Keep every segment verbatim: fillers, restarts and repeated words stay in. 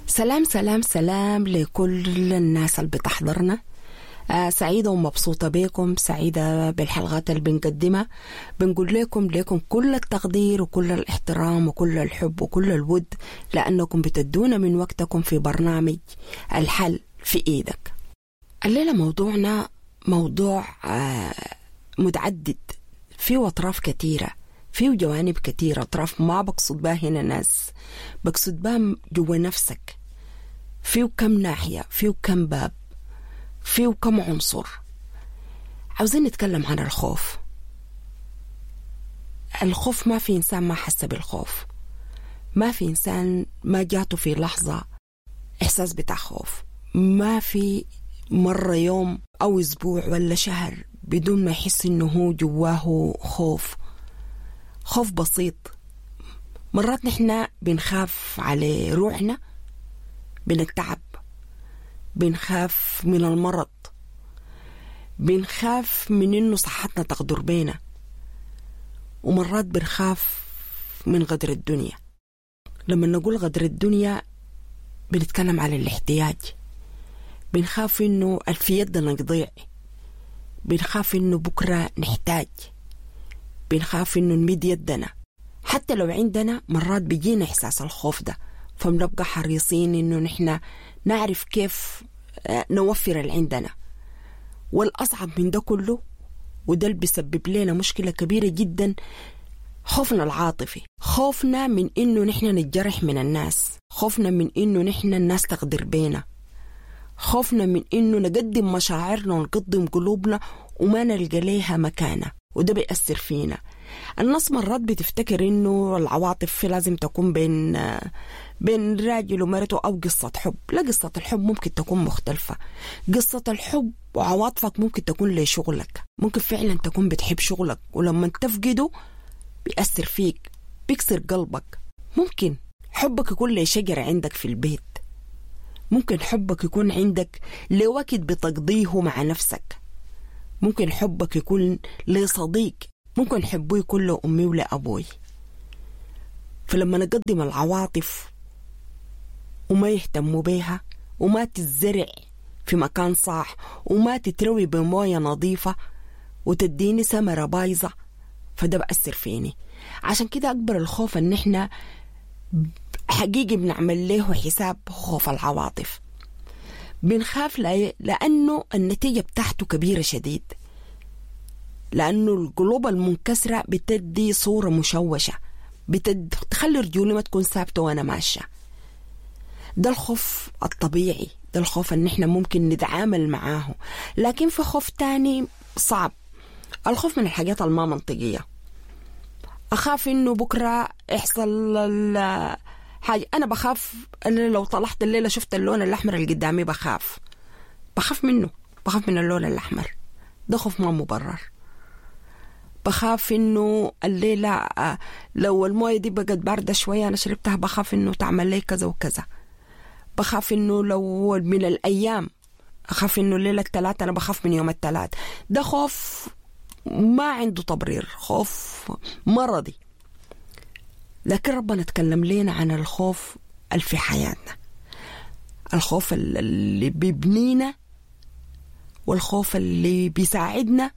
سلام سلام سلام لكل الناس اللي بتحضرنا. آه سعيدة ومبسوطة بكم، سعيدة بالحلقات اللي بنقدمها. بنقول لكم لكم كل التقدير وكل الاحترام وكل الحب وكل الود، لأنكم بتدونا من وقتكم في برنامج الحل في إيدك. الليلة موضوعنا موضوع آه متعدد، فيه أطراف كثيرة، فيه جوانب كثيرة. أطراف ما بقصد بها هنا ناس، بقصد بها جوا نفسك. فيه كم ناحية، فيه كم باب، فيه كم عنصر. عاوزين نتكلم عن الخوف. الخوف ما في إنسان ما حس بالخوف، ما في إنسان ما جاته في لحظة إحساس بتاع خوف، ما في مرة يوم أو أسبوع ولا شهر بدون ما يحس إنه هو جواه خوف. خوف بسيط. مرات نحن بنخاف على روحنا من التعب، بنخاف من المرض، بنخاف من إنه صحتنا تغدر بينا، ومرات بنخاف من غدر الدنيا. لما نقول غدر الدنيا بنتكلم على الاحتياج. بنخاف إنه في يدنا يضيع، بنخاف إنه بكرة نحتاج، بنخاف إنه نمد يدنا حتى لو عندنا. مرات بيجينا إحساس الخوف ده، فبنبقى حريصين إنه نحن نعرف كيف نوفر اللي عندنا. والأصعب من ده كله، وده اللي بيسبب لنا مشكلة كبيرة جدا، خوفنا العاطفي. خوفنا من إنه نحن نتجرح من الناس، خوفنا من إنه نحن الناس تغدر بينا، خوفنا من إنه نقدم مشاعرنا ونقدم قلوبنا وما نلقى ليها مكانة، وده بيأثر فينا. الناس مرات بتفتكر إنه العواطف لازم تكون بين بين راجل ومرته أو قصة حب. لا، قصة الحب ممكن تكون مختلفة. قصة الحب وعواطفك ممكن تكون لشغلك، ممكن فعلا تكون بتحب شغلك، ولما تفقده بيأثر فيك، بيكسر قلبك. ممكن حبك يكون لشجرة عندك في البيت، ممكن حبك يكون عندك لوقت بتقضيه مع نفسك، ممكن حبك يكون لصديق، ممكن حبه يكون لأمي ولأبوي. فلما نقدم العواطف وما يهتموا بيها، وما تزرع في مكان صح، وما تتروي بموية نظيفة، وتديني ثمرة بايظة، فده بأثر فيني. عشان كده أكبر الخوف إن إحنا حقيقي بنعمل له حساب، خوف العواطف. بنخاف لأنه النتيجة بتاعته كبيرة شديد، لأنه القلوب المنكسرة بتدي صورة مشوشة، بتخلي رجولي ما تكون ثابتة وأنا ماشية. ده الخوف الطبيعي، ده الخوف إن إحنا ممكن نتعامل معاه. لكن في خوف تاني صعب، الخوف من الحاجات الما منطقية. أخاف إنه بكرة يحصل حاجة. أنا بخاف أنا لو طلعت الليلة شفت اللون الأحمر اللي قدامي بخاف، بخاف منه، بخاف من اللون الأحمر. ده خوف ما مبرر. بخاف إنه الليلة لو الموية دي بقت باردة شوية أنا شربتها، بخاف إنه تعمل لي كذا وكذا. بخاف إنه لو من الأيام، أخاف إنه الليلة الثلاث، أنا بخاف من يوم الثلاث. ده خوف ما عنده تبرير، خوف مرضي. لكن ربنا تكلم لنا عن الخوف اللي في حياتنا، الخوف اللي بيبنينا، والخوف اللي بيساعدنا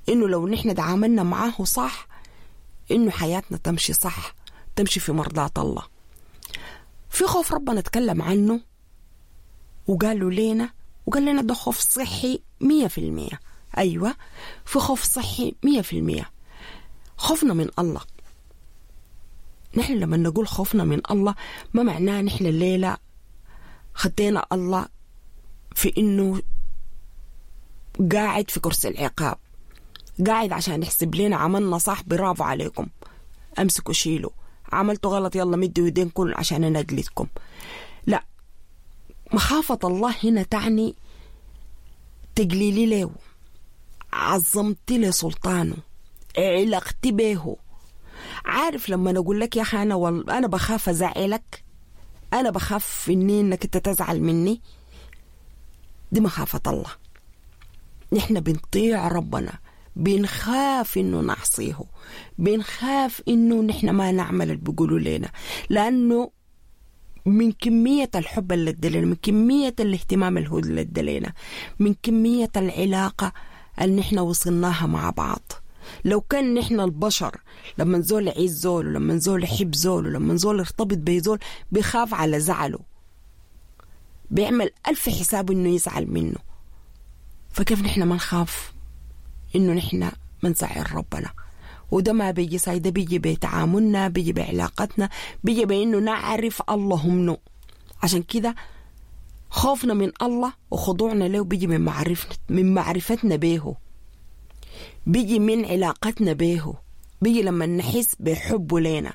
إنه لو نحن تعاملنا معاه صح إنه حياتنا تمشي صح، تمشي في مرضاة الله. في خوف ربنا تكلم عنه وقالوا لنا، وقال لنا ده خوف صحي مية في المية. أيوة، في خوف صحي مية في المية. خوفنا من الله. نحن لما نقول خوفنا من الله ما معناه نحن الليلة خدينا الله في إنه قاعد في كرسي العقاب، قاعد عشان يحسب لنا عملنا صح، برافو عليكم، أمسكوا شيلوا، عملتوا غلط يلا مدوا يدينكم عشان أنا أجلدكم. لا، مخافة الله هنا تعني تقليلي له، عظمتي لسلطانه، علاقتي به. عارف لما نقول لك يا أخي أنا وال... أنا بخاف أزعلك، أنا بخاف إني إنك أنت تزعل مني، دي مخافة الله. نحن بنطيع ربنا، بنخاف إنه نعصيه، بنخاف إنه نحن ما نعمل اللي بيقولوا لنا، لأنه من كمية الحب اللي ادلينا، من كمية الاهتمام اللي هو اللي ادلينا، من كمية العلاقة اللي نحن وصلناها مع بعض. لو كان نحن البشر لما زول يعيز زول، ولما زول يحب زول، ولما زول يرتبط بزول بيخاف على زعله، بيعمل ألف حساب إنه يزعل منه، فكيف نحن ما نخاف إنه نحن ما نزعل ربنا؟ وده ما بيجي ساي، ده بيجي بتعاملنا، بيجي بعلاقتنا، بيجي بإنه نعرف الله منه. عشان كده خوفنا من الله وخضوعنا له بيجي من معرفتنا، من معرفتنا به، بيجي من علاقتنا به، بيجي لما نحس بحبه لنا.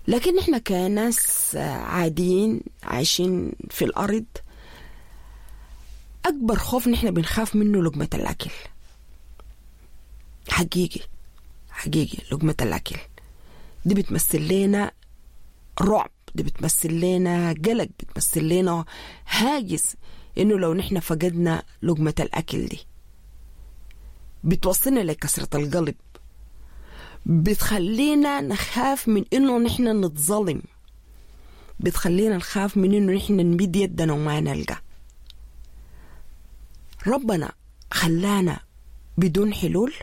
لكن نحن كناس عاديين عايشين في الأرض، أكبر خوف نحن بنخاف منه لقمة الأكل. حقيقي حقيقي لقمة الأكل دي بتمثل لنا رعب، دي بتمثل لنا قلق، بتمثل لنا هاجس إنه لو نحن فقدنا لقمة الأكل دي بتوصلنا لكسرة القلب، بتخلينا نخاف من إنه نحن نتظلم، بتخلينا نخاف من إنه نحن نمد يدنا وما نلقى. ربنا خلانا بدون حلول،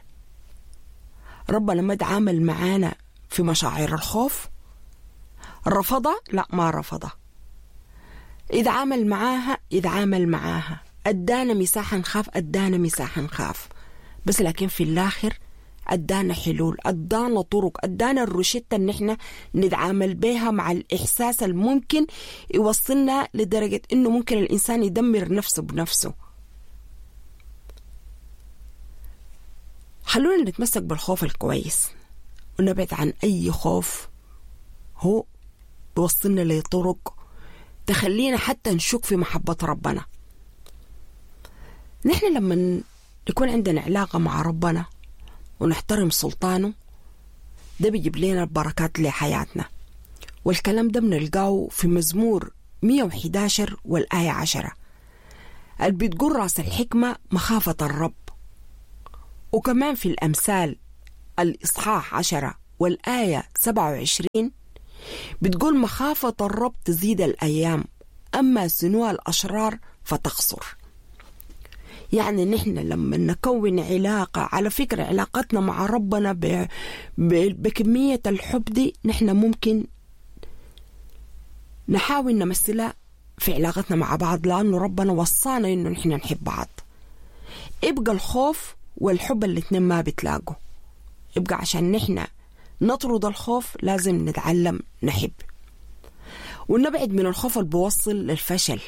ربنا ما تعامل معانا في مشاعر الخوف. رفضها؟ لا ما رفضها. إذا عامل معاها إذا عامل معاها، أدانا مساحة نخاف، أدانا مساحة نخاف، بس لكن في الآخر أدانا حلول، أدانا طرق، أدانا الروشتة إن إحنا نتعامل بها مع الإحساس الممكن يوصلنا لدرجة إنه ممكن الإنسان يدمر نفسه بنفسه. خلونا نتمسك بالخوف الكويس ونبعد عن أي خوف هو بيوصلنا لطرق تخلينا حتى نشك في محبة ربنا. نحن لما يكون عندنا علاقة مع ربنا ونحترم سلطانه، ده بيجيب لنا البركات لحياتنا. والكلام ده بنلقاه في مزمور مية وإحدى عشر والآية عشرة اللي بتقول رأس الحكمة مخافة الرب. وكمان في الأمثال الإصحاح عشرة والآية سبعة وعشرين بتقول مخافة الرب تزيد الأيام، أما سنوها الأشرار فتقصر. يعني نحن لما نكون علاقة، على فكرة علاقتنا مع ربنا ب... ب... بكمية الحب دي نحن ممكن نحاول نمثلها في علاقتنا مع بعض، لأنه ربنا وصانا إنه نحن نحب بعض. يبقى الخوف والحب الاثنين ما بتلاقوا. يبقى عشان نحن نطرد الخوف لازم نتعلم نحب ونبعد من الخوف اللي بيوصل للفشل.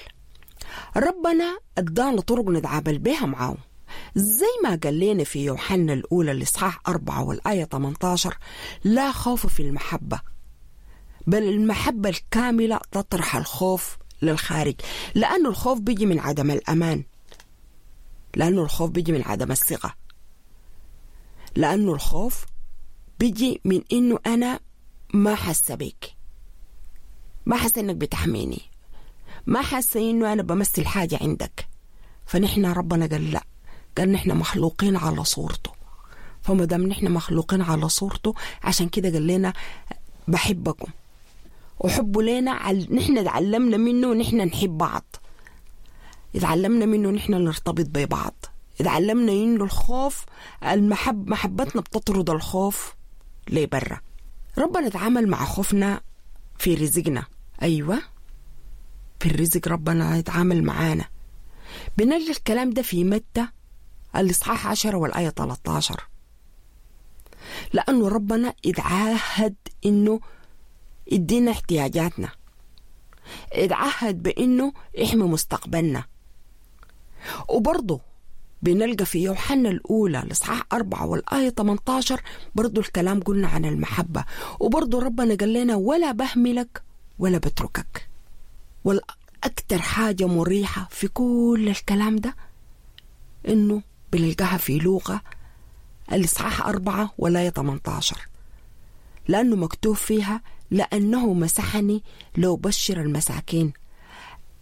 ربنا ادانا طرق نتعامل بها معاه، زي ما قال لنا في يوحنا الأولى الإصحاح أربعة والآية ثمانية عشر: لا خوف في المحبة، بل المحبة الكاملة تطرح الخوف للخارج. لأنه الخوف بيجي من عدم الأمان، لأنه الخوف بيجي من عدم الثقة، لأنه الخوف بيجي من إنه أنا ما حاسة بيك، ما حاسة إنك بتحميني، ما حاسة إنه أنا بمثل حاجة عندك. فنحن ربنا قال لا، قال نحن مخلوقين على صورته، فما دام نحن مخلوقين على صورته عشان كده قال لنا بحبكم، وحبه لنا عل... نحن تعلمنا منه نحن نحب بعض، اتعلمنا منه نحن نرتبط ببعض، اتعلمنا إنه الخوف المحب محبتنا بتطرد الخوف لبرا. ربنا اتعامل مع خوفنا في رزقنا، أيوة في الرزق ربنا يتعامل معانا. بنلقى الكلام ده في متى الإصحاح عشرة والآية ثلاثة عشر، لأنه ربنا اتعاهد إنه يدينا احتياجاتنا، اتعهد بإنه يحمي مستقبلنا. وبرضه بنلقى في يوحنا الأولى الإصحاح أربعة والآية ثمانية عشر برضه الكلام قلنا عن المحبة، وبرضه ربنا قال لنا ولا بهملك ولا بتركك. والأكثر حاجة مريحة في كل الكلام ده إنه بنلقاها في لوقا الإصحاح أربعة والآية ثمانية عشر، لأنه مكتوب فيها لأنه مسحني لو بشر المساكين،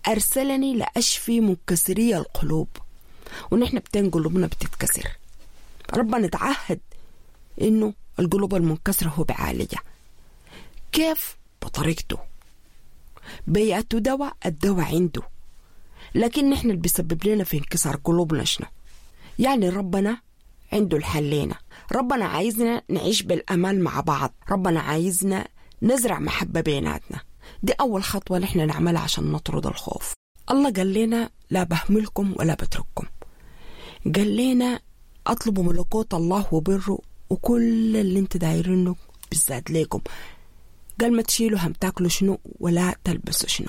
أرسلني لأشفي منكسري القلوب. ونحن بتين قلوبنا بتتكسر، ربنا تعهد إنه القلوب المنكسرة هو بعالجها. كيف؟ بطريقته. بيأتوا دواء الدواء عنده، لكن نحن اللي بيسبب لنا في انكسار قلوبنا شنو؟ يعني ربنا عنده الحل لنا. ربنا عايزنا نعيش بالأمان مع بعض، ربنا عايزنا نزرع محبة بيناتنا. دي أول خطوة نحن نعملها عشان نطرد الخوف. الله قال لنا لا بهملكم ولا بترككم، قال لنا أطلبوا ملكوت الله وبره وكل اللي انت دايرينه بالذات ليكم. قال ما تشيلوا هم تاكلوا شنو ولا تلبسوا شنو.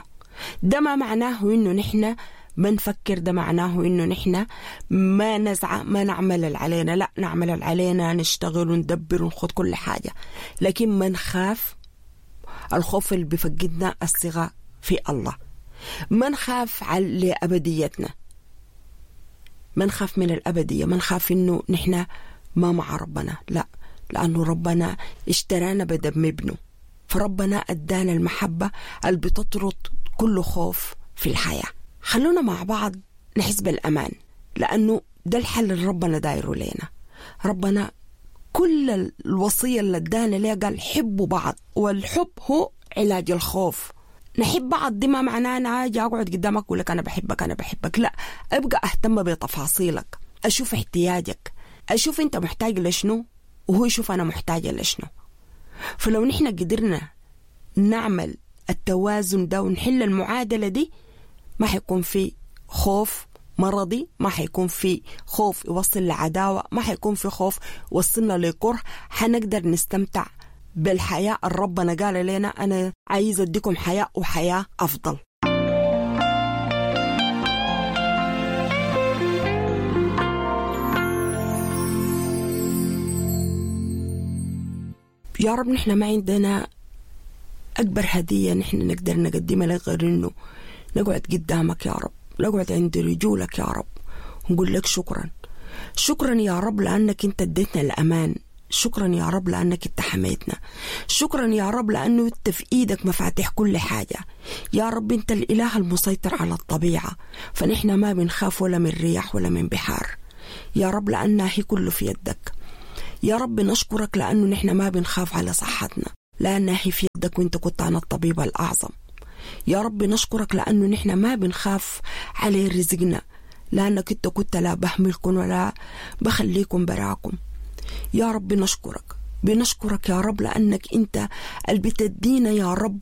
ده ما معناه انه نحن ما نفكر، ده معناه انه نحن ما نزع ما نعمل اللي علينا، لا نعمل اللي علينا، نشتغل وندبر ونخد كل حاجة، لكن ما نخاف. الخوف اللي بفقدنا الثقة في الله، ما نخاف على أبديتنا، ما نخاف من الأبدية، ما نخاف إنه نحن ما مع ربنا، لا، لأنه ربنا اشترانا بدم ابنه، فربنا أدانا المحبة اللي بتطرد كل خوف في الحياة. خلونا مع بعض نحس بالأمان، لأنه ده الحل اللي ربنا دايره لنا. ربنا كل الوصية اللي ادانا ليها قال حبوا بعض، والحب هو علاج الخوف. نحب بعض دي ما معناه أنا أجي أقعد قدامك أقول لك أنا بحبك أنا بحبك، لا، أبقى أهتم بتفاصيلك، أشوف احتياجك، أشوف أنت محتاج لشنو وهو يشوف أنا محتاجة لشنو. فلو نحن قدرنا نعمل التوازن ده ونحل المعادلة دي، ما حيكون في خوف مرضي، ما حيكون في خوف يوصل لعداوة، ما حيكون في خوف يوصلنا لكره. حنقدر نستمتع بالحياة اللي ربنا قال لنا أنا عايز أديكم حياة وحياة أفضل. يا رب نحن ما عندنا أكبر هدية نحن نقدر نقدمها لك غير إنه نقعد قدامك يا رب، نقعد عند رجولك يا رب ونقول لك شكرا، شكرا يا رب لأنك أنت اديتنا الأمان، شكرا يا رب لأنك انت حميتنا، شكرا يا رب لأنه انت في إيدك مفاتيح كل حاجة. يا رب انت الإله المسيطر على الطبيعة، فنحن ما بنخاف ولا من رياح ولا من بحار يا رب، لأنها هي كله في يدك. يا رب نشكرك لأنه نحن ما بنخاف على صحتنا، لأنها هي في يدك وانت كنت عن الطبيب الأعظم. يا رب نشكرك لأنه نحن ما بنخاف على رزقنا، لأنك انت كنت لا بهملكم ولا بخليكم براكم. يا رب نشكرك، بنشكرك يا رب لأنك أنت اللي بتدينا يا رب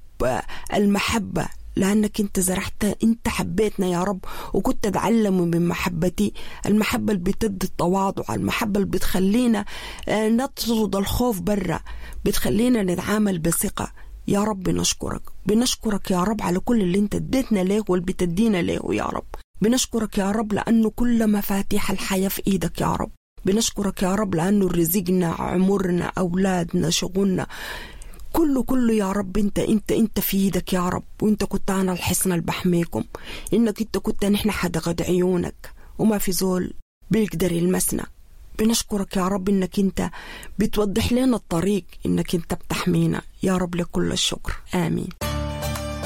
المحبة، لأنك أنت زرعت، أنت حبيتنا يا رب وكنت تتعلم من محبتي، المحبة اللي بتدي التواضع، المحبة اللي بتخلينا نطرد الخوف برا، بتخلينا نتعامل بثقة. يا رب نشكرك، بنشكرك يا رب على كل اللي أنت اديتنا ليه واللي بتدينا ليه يا رب. بنشكرك يا رب لأنه كل مفاتيح الحياة في إيدك يا رب. بنشكرك يا رب لأنه رزقنا، عمرنا، أولادنا، شغلنا، كله كله يا رب انت انت انت في ايدك يا رب، وانت كنت انا الحصن اللي بحميكم، انك انت كنت نحن حدقة عيونك وما في زول بيقدر يلمسنا. بنشكرك يا رب انك انت بتوضح لنا الطريق، انك انت بتحمينا يا رب، لكل الشكر، آمين.